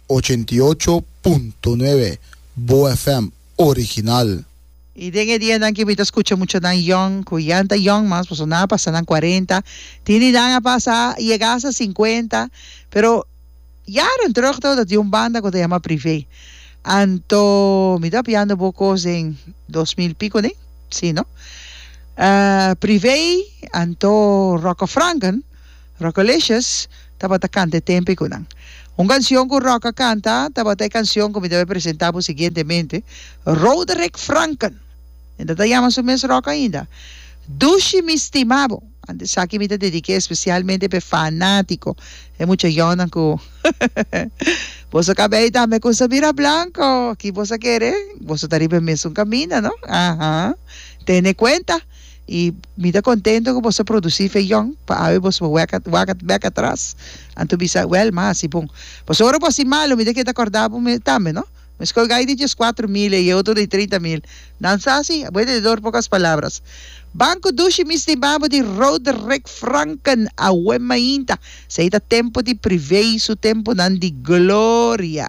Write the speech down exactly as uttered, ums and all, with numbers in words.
Ochenta i ocho punto nuebe Bo F M original. I den e dianan ki mi ta skucha muchanan yòn ku ya ta yòn mas, pasobra nan a pasa nan kuarenta, tin di nan a pasa yega hasta sinkuenta, pero jaren terug tabata tin un banda ku ta yama Privé. Anto mi ta piando bo kos den dos mil piko ne? Si no? Privé anto Rocco Franken, Rockolicious, tabata kanta e tempu ei ku nan. Un kansion ku Rock a kanta tabata e kansion ku mi ta bai presentá bo siguientemente, Roderick Franken. E ta ta yama su mes Rock ainda. Dushi mi stima bo. Anto esaki mi ta dedik'é espesialmente pa e fanátiko, e mucha yònnan ku boso kabei tambe ku sa bira blanko. Ki boso a kere? Boso ta riba e mesun kaminda, no? Aha. Tene kuenta. I mi ta kontento ku boso a produsí fe yòn pa awe boso por wek wak bèk atras anto bisa, Wèl, m'a hasi bon. Pasobra ora bo hasi malu, mi ta keda kòrda bo mi tambe, no? Mi skol gai di dieskuatro mil i e otro di trinta mil. Nan sa si, buen entendedor pocas palabras. Ban ku dushi mi stima bo di Roderick Franken awe mainta. Esei ta tempu di privei su tempunan di gloria.